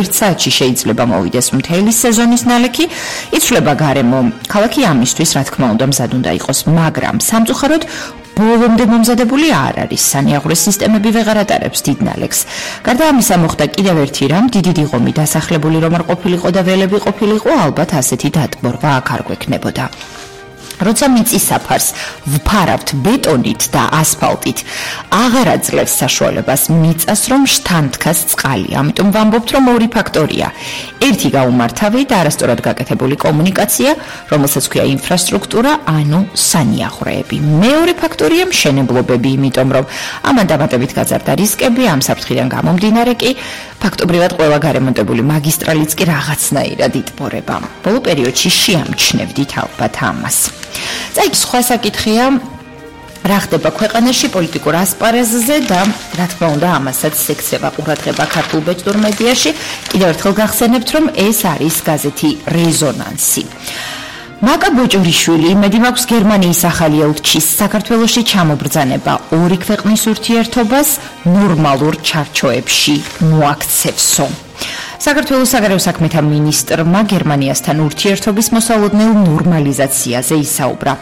საათში შეიძლება მოვიდეს მთელი სეზონის ნალექი, იცვლება გარემო. ქალაქი ამისთვის, რა თქმა უნდა, მზად უნდა იყოს, მაგრამ სამწუხაროდ ბოლომდე მომზადებული არ არის. სანიაღვრეს სისტემები ვეღარ ატარებს დიდ ნალექს. გარდა ამისა მოხდა კიდევ ერთი რამ, დიდი დიღომი დასახლებული რომ არ ყოფილიყო და ველები ყოფილიყო, ალბათ ასეთი დატბორვა აქ არ გვექნებოდა. როცა მიწის საფარს ვფარავთ ბეტონით და ასფალტით, აღარ აძლევს საშუალებას მიწას რომ შთანთქას წყალი. ამიტომ ვამბობთ, რომ ორი ფაქტორია. ერთი გაუმართავი და არასწორად გაკეთებული კომუნიკაცია, რომელსაც ქვია ინფრასტრუქტურა, ანუ სანიაღვრეები. მეორე ფაქტორია მშენებლობები, იმიტომ რომ ამან დამატებით გაზარდა რისკები, ამ საფრთხიდან გამომდინარე კი ფაქტობრივად ყველა გარემონტებული მაგისტრალიც კი რაღაცნაირად იტბორება. ბოლო პერიოდში შეამჩნევდით ალბათ ამას. წაიქ სხვა საკითხია, რა ხდება ქვეყანაში პოლიტიკურ ასპარეზზე და რა თქმა უნდა ამასაც ექცევა ყურადღება ქართულ ბეჭდურ მედიაში. კიდევ ერთხელ გახსენებთ, რომ ეს არის გაზეთი რეზონანსი. მაკა ბოჭორიშვილი იმედი მაქვს გერმანიის ახალი ელჩის საქართველოში ჩამობრძანება ორი ქვეყნის ურთიერთობას ნორმალურ ჩარჩოებში მოაქცევსო. საქართველოს საგარეო საქმეთა მინისტრმა გერმანიასთან ურთიერთობის მოსალოდნელ ნორმალიზაციაზე ისაუბრა.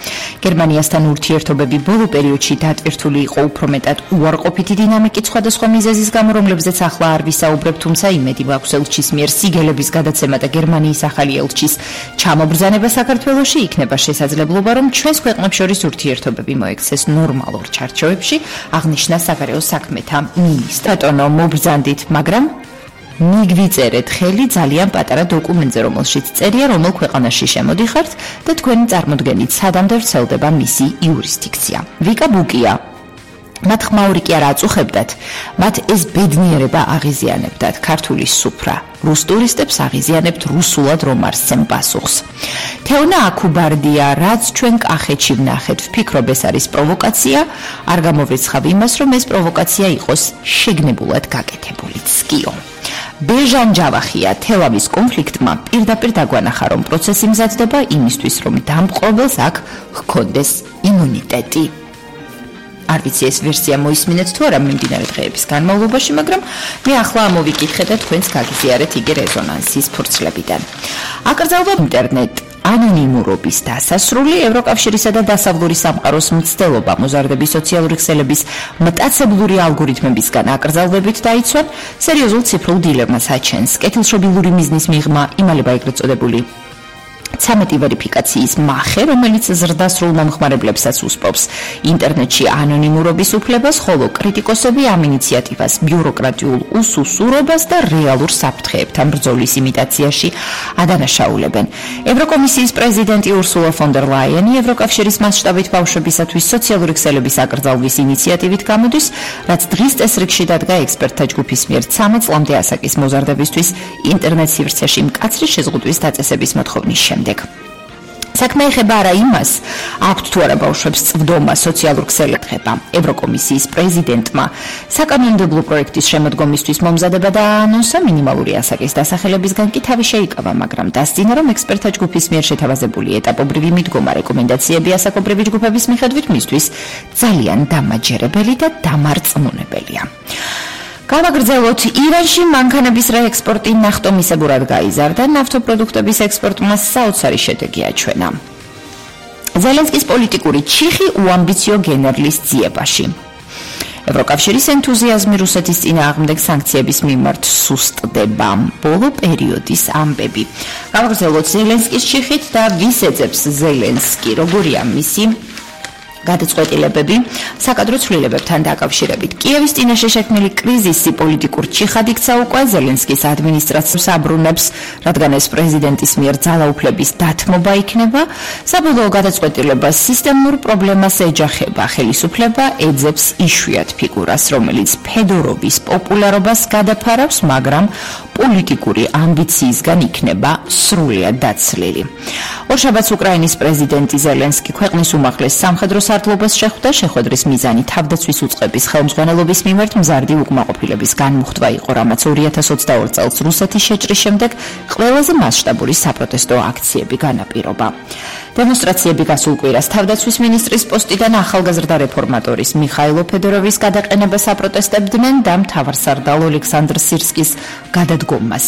გერმანიასთან ურთიერთობები ბოლო პერიოდში დატვირთული იყო უფრო მეტად უარყოფითი დინამიკით სხვადასხვა მიზეზის გამო, რომლებზეც ახლა არ ვისაუბრებ, თუმცა იმედი მაქვს ელჩის მიერ სიგელების გადაცემა და გერმანიის ახალი ელჩის ჩამობრძანება საქართველოში იქნება შესაძლებლობა, რომ ჩვენს ქვეყნებს შორის ურთიერთობები მოექცეს ნორმალურ ჩარჩოებში, აღნიშნა საგარეო საქმეთა მინისტრმა. ბატონო, მობრძანდით, მაგრამ მიგვიწერეთ ხელი ძალიან პატარა დოკუმენტზე, რომელშიც წერია, რომელ ქვეყანაში შემოდიხართ და თქვენი წარმოდგენით სადამდე ვრცელდება მისი იურისდიქცია. ვიკა ბუკია. მათ ხმაური კი არ აწუხებდათ, მათ ეს ბედნიერება აღიზიანებდათ. ქართული სუფრა რუს ტურისტებს აღიზიანებთ რუსულად რომ არსცემ პასუხს. თეონა აკუბარდია, რაც ჩვენ კახეთში ვნახეთ, ვფიქრობ ეს არის პროვოკაცია, არ გამოვრიცხავ იმას, რომ ეს პროვოკაცია იყოს შეგნებულად გაკეთებული. სკიო. ბეჟან ჯავახია, თელავის კონფლიქტმა პირდაპირ დაგვანახა, რომ პროცესი მზადდება იმისთვის, რომ დამპყრობელს აქ ჰქონდეს იმუნიტეტი. არ ვიცი ეს ვერსია მოისმინეთ თუ არა მიმდინარე დღეების განმავლობაში, მაგრამ მე ახლა ამოვიკითხე და თქვენს გაგიზიარეთ იგი რეზონანსის ფურცლებიდან. აკრძალვა ინტერნეტ ანონიმურობის დასასრული, ევროკავშირისა და დასავლური სამყაროს მცდელობა მოზარდების სოციალური ქსელების მტაცებლური ალგორითმებისგან აკრძალვებით დაიცვან, სერიოზულ ციფრულ დილემას აჩენს. კეთილშობილური მიზნის მიღმა იმალება ეგრეთ წოდებული 13 ვერიფიკაციის მახე, რომელიც ზრდასრულ მომხმარებლებსაც უსპობს ინტერნეტში ანონიმურობის უფლებას, ხოლო კრიტიკოსები ამ ინიციატივას ბიუროკრატიულ უსუსურობას და რეალურ საფრთხეებთან ბრძოლის იმიტაციაში ადანაშაულებენ. ევროკომისიის პრეზიდენტი ურსულა ფონ დერ ლაიენი ევროკავშირის მასშტაბით ბავშვებისათვის სოციალური ქსელების აკრძალვის ინიციატივით გამოდის, რაც დღის წესრიგში დადგა ექსპერტთა ჯგუფის მიერ 13 წლამდე ასაკის მოზარდებისთვის ინტერნეტ სივრცეში მკაცრი შეზღუდვის დაწესების მოთხოვნის შემდეგ. საქმე ეხება არა იმას, აქვთ თუ არა ბავშვებს წვდომა სოციალურ ქსელებთან. ევროკომისიის პრეზიდენტმა საკანონმდებლო პროექტის შემოდგომისთვის მომზადება დაანონსა, მინიმალური ასაკის დასახელებისგან კი თავი შეიკავა, მაგრამ დასძინა, რომ ექსპერტთა ჯგუფის მიერ შეთავაზებული ეტაპობრივი მიდგომა რეკომენდაციები ასაკობრივი ჯგუფების მიხედვით მისთვის ძალიან დამაჯერებელი და დამარწმუნებელია. გავაგრძელოთ, ირანში მანქანების რეექსპორტი ნახტომისებურად გაიზარდა, ნავთობპროდუქტების ექსპორტმა საოცარი შედეგი აჩვენა. ზელენსკის პოლიტიკური ჩიხი უამბიციო გენერლის ძიებაში. ევროკავშირის ენთუზიაზმი რუსეთის წინააღმდეგ სანქციების მიმართ სუსტდება. ბოლო პერიოდის ამბები. გავაგრძელოთ ზელენსკის ჩიხით და ვის ეძებს ზელენსკი, როგორია მისი გადაწყვეტილებები საკადრო ცვლილებებთან დაკავშირებით. კიევის წინაშე შექმნილი კრიზისი პოლიტიკურ ჩიხად იქცა უკვე ზელენსკის ადმინისტრაციას აბრუნებს, რადგან ეს პრეზიდენტის მიერ ძალაუფლების დათმობა იქნება. საბოლოო გადაწყვეტილებას სისტემურ პრობლემას ეჯახება. ხელისუფლება ეძებს იშვიათ ფიგურას, რომელიც ფედოროვის პოპულარობას გადაფარავს, მაგრამ პოლიტიკური ამბიციისგან იქნება სრულად დაცლილი. ორშაბათს უკრაინის პრეზიდენტი ზელენსკი ქვეყნის უმაღლეს სამხედრო სარდლობას შეხვდა. შეხვედრის მიზანი თავდაცვის უწყების ხელმძღვანელობის მიმართ მზარდი უკმაყოფილების განმუხტვა იყო, რამაც 2022 წელს რუსეთის შეჭრის შემდეგ ყველაზე მასშტაბური საპროტესტო აქციები განაპირობა. დემონსტრაციები გასულ კვირას თავდაცვის მინისტრის პოსტიდან ახალგაზრდა რეფორმატორის მიხაილო ფედოროვის გადაყენებას აპროტესტებდნენ და მთავარსარდალ ოლექსანდრ სირსკის გადადგომას